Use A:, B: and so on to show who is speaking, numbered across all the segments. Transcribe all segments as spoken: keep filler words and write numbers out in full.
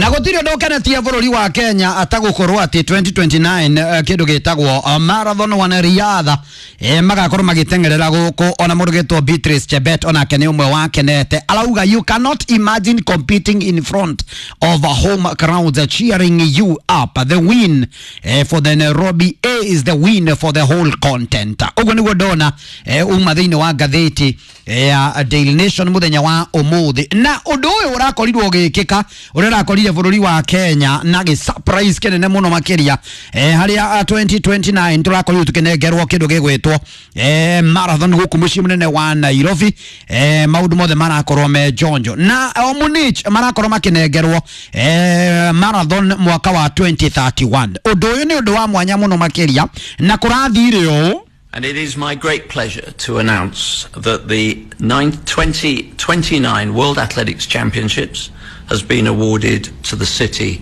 A: Na gũtirĩ ũndũ ũkenetie bũrũri wa Kenya atagũkorwo atĩ twenty twenty-nine eh, kĩndũ gĩtagwo uh, marathon wana riadha eh, magakorwo magĩteng'erera gũkũ. Ona mũndũ gĩtwo Beatrice Chebet onake nĩ ũmwe wakenete, arauga, "You cannot imagine competing in front of a home crowds cheering you up. The win eh, for the Nairobi A is the win for the whole continent." Ũguo nĩguo ndona eh, uma thĩinĩ wa ngathĩti ya Daily Nation mũthenya wa ũmũthĩ. Na ũndũ ũyũ ũrakorirwo ũgĩkĩka ũrĩa ũrakorire bũrũri wa Kenya na gĩ surprise kĩnene mũno makĩria, eh, harĩa twenty twenty-nine tũrakorirwo tũkĩnengerwo kĩndũ gĩgwĩtwo eh, marathon gũkũ mũciĩ mũnene wa Nairobi. eh, maũndũ mothe marakorwo me njonjo na o Munich marakorwo makĩnengerwo eh, marathon mwaka wa twenty thirty-one. Ũndũ ũyũ nĩ ũndũ wa mwanya mũno makĩria na kũrathire ũũ.
B: And it is my great pleasure to announce that the nine twenty twenty-nine World Athletics Championships has been awarded to the city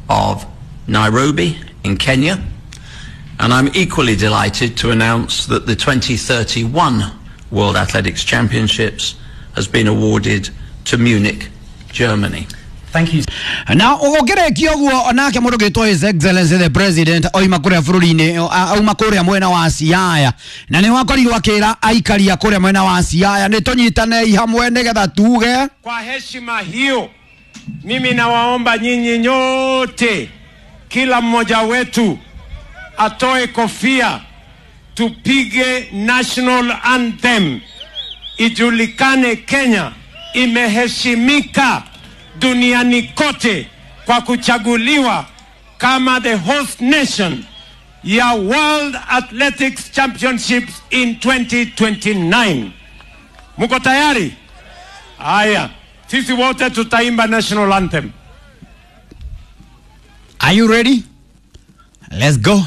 B: of Nairobi in Kenya. And I'm equally delighted to announce that the twenty thirty-one World Athletics Championships has been awarded to Munich, Germany.
C: Thank you.
A: Na ũgũkĩrĩkia ũguo, onake mũndũ gĩtwo His Excellency the President oima kũrĩa bũrũri-inĩ, auma kũrĩa mwena wa Siaya, na nĩ wakorirwo akĩra aikari a kũrĩa mwena wa Siaya nĩ tũnyitanei hamwe nĩgetha tuge.
D: Kwa heshima hiyo, mimi nawaomba nyinyi nyote, kila mmoja wetu atoe kofia, tupige national anthem, ijulikane Kenya imeheshimika duniani kote kwa kuchaguliwa kama the host nation ya World Athletics Championships in twenty twenty-nine. Muko tayari? Haya, sisi wote tutaimba national anthem.
A: Are you ready? Let's go.